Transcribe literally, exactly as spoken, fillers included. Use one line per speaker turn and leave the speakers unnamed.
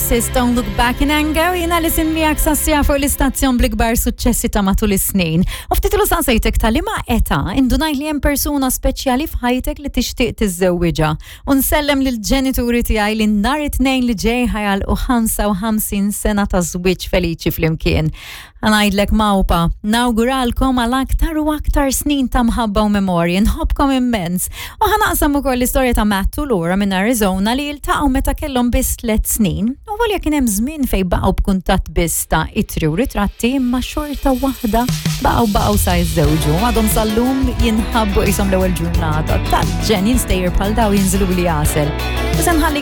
Oasis, Don't Look Back in Anger, jiena li miegħek sas-siegħa fuq l-istazzjon bl-ikbar suċċessi ta' matul is-snin. U ftit ilu saqsejtek ta' liema età indunajt li hemm persuna speċjali f'ħajtek li tixtieq tiżżewwiġha. U nsellem lill-ġenituri tiegħi li nhar it-Tnejn li ġej ħa jagħlqu ħamsa u ħamsin sena ta' żwieġ feliċi flimkien. Ħa ngħidlek ma u pa, nawguralkom għal aktar u aktar snin ta' mħabba u memorji, nħobbkom immens. U ħa naqsam ukoll l-istorja ta' Matt u Laura minn Arizona li iltaqgħu meta kellhom biss tliet snin. U volja kien hemm żmien fejn baqgħu b'kuntatt biss ta' ittri u ritratti, imma xorta waħda baqgħu baqgħu sa jiżżewġu. Għadhom sal-lum jinħabbu qishom l-ewwel ġurnata. Tal-ġenn, jien stejjer bħal dawn jinżluli għasel. U se nħallik.